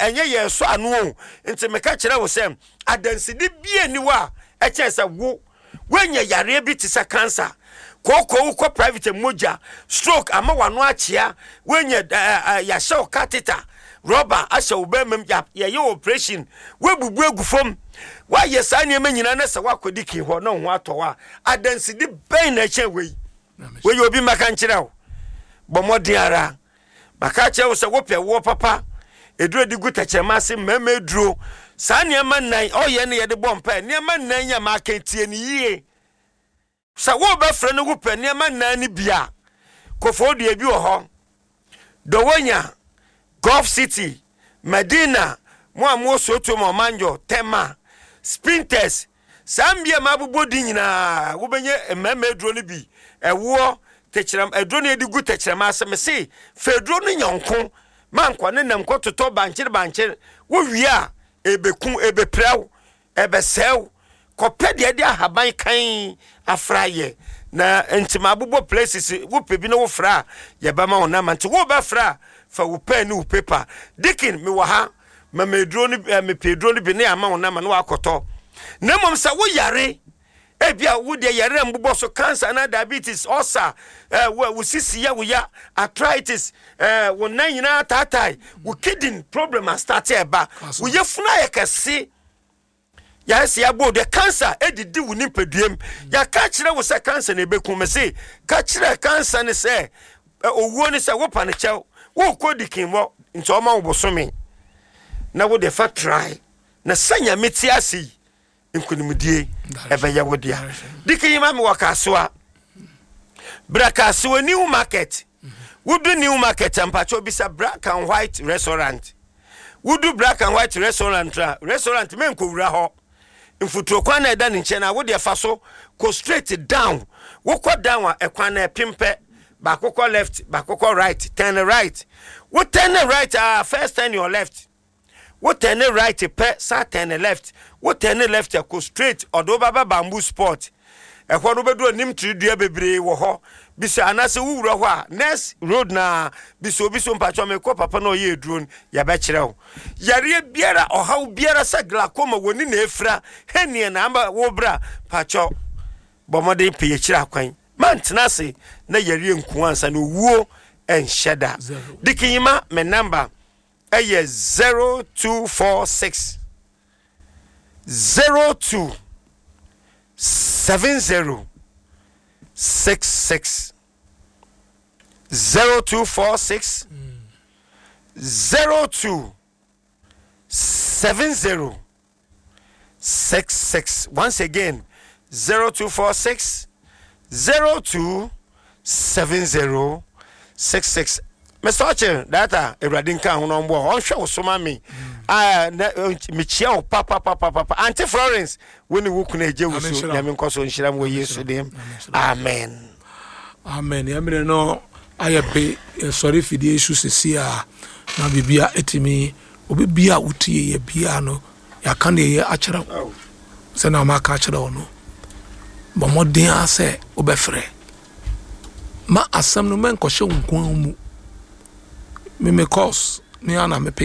Ɛnyɛ yɛn sɔ ano o. Nti meka kyerɛ wo sɛ adansedi bia ni hɔ a ɛkyɛn sɛ wo woanya yareɛ bi te sɛ cancer, kooko, wokɔ private, mogya, stroke ama w'ano akyea, woanya yɛahyɛ wo catheter, rɔba ahyɛ wo bɛrima mu, yɛyɛ operation, woabubu agu fam, woayɛ saa nneɛma nyinaa na sɛ woakɔdi kin hɔ na wo ho atɔ wo a, adansedi bɛn na ɛkyɛn wei? Wei obi mmɛka nkyerɛ wo. Bɔ mmɔden ara. Maka akyerɛ wo sɛ wopɛ woɔ papa, aduro de gu tɛkyerɛma ase, mmarima aduro, saa nneɛma nnan ɔyɛ ne yɛde bɔ mpae. Nneɛma nnan yi a maka tie no yie. Sɛ wobɛfrɛ no wopɛ nneɛma nnan no bi a, kofoo dua bi wɔ hɔ, Dowonya, Gulf City, Medina, mo a mowɔ Soto ma Ɔmanjɔ, Tema, Spintex, saa mmea a mabobɔ din nyinaa, wobɛnya mmarima aduro no bi, ɛwoɔ, tɛkyerɛm, aduro no yɛde gu tɛkyerɛma ase. Mese, fa aduro no nyɔnko, ma nkɔ ne nam kɔtotɔ bankyere bankyere, wowie a, ɛbɛku, ɛbɛpira wo. Ɛbɛsɛe wo. Kɔpɛ deɛ ɛde ahaban kann afra yɛ. Na nti mabobɔ places, wopɛ bi na wofra a, yɛbɛma wo number. Nti wobɛfra a, fa wo pen ne wo paper. Deacon, mewɔ ha, ma me aduro no, eh, mepɛ aduro no bi na yɛama wo number na woakɔtɔ. Na mmom sɛ woyare, ebia wo deɛ yare a mbobɔ so, cancer anaa diabetes, ulcer, eh, wo, wo sisi yɛ wo ya, arthritis, eh, wo nan nyinaa taatae, wo kidney problem astarte ɛba, wo yafunu ayɛ kɛse, yɛayɛ sɛ yɛabɔ deɛ cancer ɛdidi wo nipaduam, yɛaka kyerɛ wo sɛ cancer na ɛbɛku me se ka kyerɛ cancer ne sɛ owuo ne sɛ wopa no kyɛw, wokɔ dikinbɔ nti ɔma wo bosome na wode fa try na sɛ Nyame te ase yi nkonimdie ɛbɛyɛ wo dea. Dikin yi ma me wɔ Kasoa, bra Kasoa New Market. Wodu New Market a, mpakyɛw bisa Black and White Restaurant. Wodu Black and White Restaurant a, restaurant menkɔwura hɔ, mfuturo kwan na ɛda ne nkyɛn a wodeɛ fa so kɔ straight down. Wokɔ down a, ɛkwan na ɛpem pɛ, baako kɔ left, baako kɔ right. Turn right. Wo turn right a, first turn your left. Wo turn right pɛ, san turn left. Wo turn left a, kɔ straight, ɔde wo bɛba Bamboo Spot. Ɛhɔ no wobɛdu anim tiri dua bebree wɔ hɔ. Bisa anaasɛ wowura hɔ a, next road na bisa obi so, mpakyɛ mekɔ papa na ɔyɛ aduro no, yɛbɛkyerɛ wo. Yareɛ biara, ɔhaw biara sɛ glaucoma, w'ani na efira, hernia na ama wo bra, mpakyɛ bɔ mmɔden pɛ yɛkyerɛ akwan. Mantena ase na yareɛ nku ansa na owuo nhyɛ da. Dikinyima, me number ɛyɛ 0246 02 70 66, 0246 02 70 66. Once again, 0246 02 70 66. Mr. Oche, data Awurade nka ho na ɔmboa ɔnhwɛ wo so ma me. Ah, na mekyia wo papapapapa. Auntie Florence, wo ne wo kunu agye wo so. Nyame nkɔ so nhyira mu wɔ Yesu dim. Amen. Amen. Yɛn mmerɛ no ayɛ pe, yɛsɔre fidie so sisi a na biribia ɛtumi obi bia a wotie yɛ bia no, yɛaka deɛ yɛ akyerɛ wo sɛnea wɔaka akyerɛ wo no, bɔ mmɔden ara sɛ wobɛfrɛ ma asɛm no mɛnkɔhyɛ wo nko ara mu. Me me course me ara na me pick.